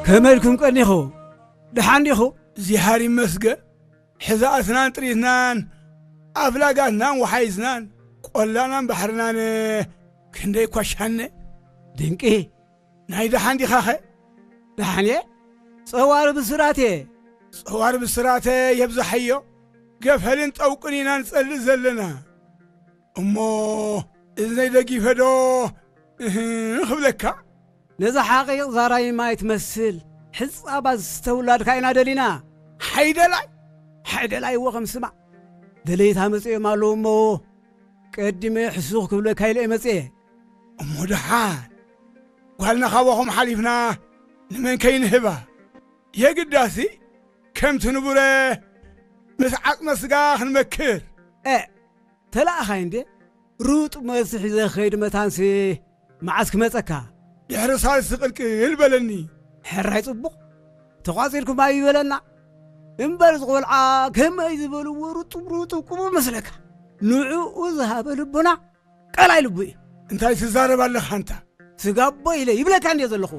ከመይ ኢልኩም ቀኒኹ? ደሓን ዲኹ? እግዚኣብሔር ይመስገን። ሕዛእትናን ጥሪትናን ኣፍላጋትናን ወሓይዝናን ቆላናን ባሕርናን ክንደይ ኳሻነ። ድንቂ። ናይ ደሓን ዲኻኸ? ደሓን እየ። ጸዋር ብስራት እየ። ጸዋር ብስራተ የብዛሓዮ። ገፈልን ጠውቅን ኢና ንጸልእ ዘለና። እሞ እዝነይ ደጊፈ ዶ እህ ክብለካ? ነዛ ሓቒቕ ዛራይ ማይ ትመስል ሕጻባ ዝተውላድካ ኢና ደሊና። ሓይደላይ? ሓይደላይ እዎ ከም ስማ። ደለይታ መጺኦም ኣለዉ እሞ ቀዲመ ሕሱኽ ክብለካ ኢለ እየ መጺኤ። እሞ ደሓን ጓልና ካባኹም ሓሊፍና ንመን ከይንህባ? የግዳሲ ከምቲ ንቡረ ምስ ዓጽመ ስጋ ክንመክር። እ፣ ተላእኻይ እንዴ? ሩጥ መልሲ ሒዘ ክኸይድ መታንሲ መዓስ ክመጸካ? ድሕሪ ሳልሲ ቅልቅል በለኒ። ሕራይ ጽቡቕ። ተቋጺርኩም ኣይበለና። እምበር እዚ ቆልዓ ከመይ ዝበልዎ ሩጡብ ሩጡብ ቁሙ መስለካ? ንዕኡ ዝሃበ ልቡና ቀላይ ልቡ እዩ። እንታይ ትዛረብ ኣለኻ ኣንታ? ስጋቦ ኢለ ይብለካ እንዴ ዘለኹ።